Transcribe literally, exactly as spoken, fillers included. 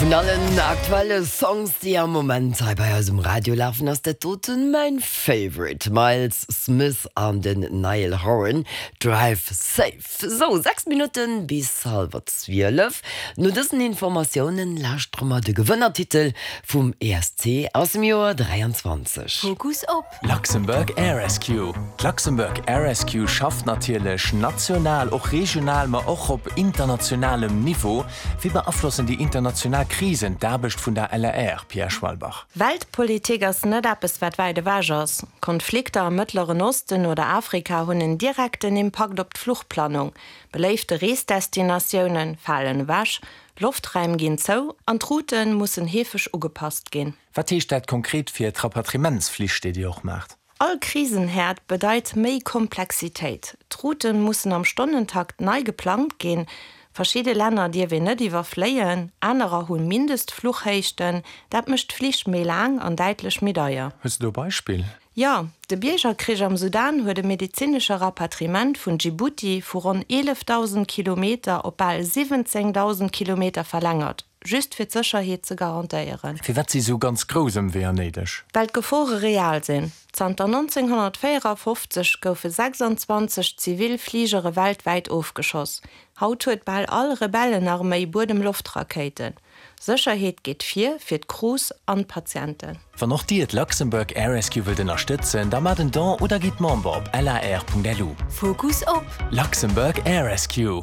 Vun allen aktuelle Songs, déi am Moment hei bei eis um Radio lafen, ass dat doten mäin Favorite. Myles Smith an den Niall Horan, Drive Safe. Sou, sechs Minutten bis hallwer zwielef. No dësen Informatiounen lauschtere mer de Gewënnertitel vum E S C aus dem Joer dräianzwanzeg. Fokus op. Luxembourg Air Rescue. D'Luxembourg Air Rescue schafft natierlech national, och regional, ma och op internationalem Niveau. Wéi beaflossen déi international Krisen d'Aarbecht vun der L A R, Pierre Schwalbach? Weltpolitik ass net eppes, wat wäit ewech ass. Konflikter am Mëttleren Osten oder Afrika hunn en direkten Impakt op d'Fluchplanung. Beléifte Reesdestinatioune falen ewech, Loftraim ginn zou an d'Route mussen heefeg ugepasst ginn. Wat heescht dat konkret fir d'Rapatriementsflich, déi dir och maacht? All Krisenherd bedeit méi Komplexitéit. D'Route mussen am Stonnentakt nei geplangt ginn. Verschidde Länner dierf een net iwwerfléien, anerer hu Mindestfluchhéichten, dat mécht d'Flich méi laang an däitlech méi deier. Hues du e Beispill? Jo, de Biergerkrich am Sudan huet de medezinesche Rapatriement vun Djibouti vu ronn eelefdausend Kilometer op bal siwwenzéngdausend Kilometer verlängert, just fir d'Sécherheet ze garantéieren. Firwat si sou ganz grouss Ëmweeër néideg? Well d'Gefore real sinn. Zanter nonzénghonnertvéierafofzeg goufe sechsanzwanzeg zivil Fligere weltwäit ofgeschoss. Haut huet bal all Rebellenarméi Buedem-Loft-Rakéiten. Sécherheet geet vir fir d'Crews an d'Patienten. Wann och Dir d'Luxembourg Air Rescue wëllt ënnerstëtzen, da maacht en Don oder gitt Member op lar Punkt lu. Fokus op. Luxembourg Air Rescue.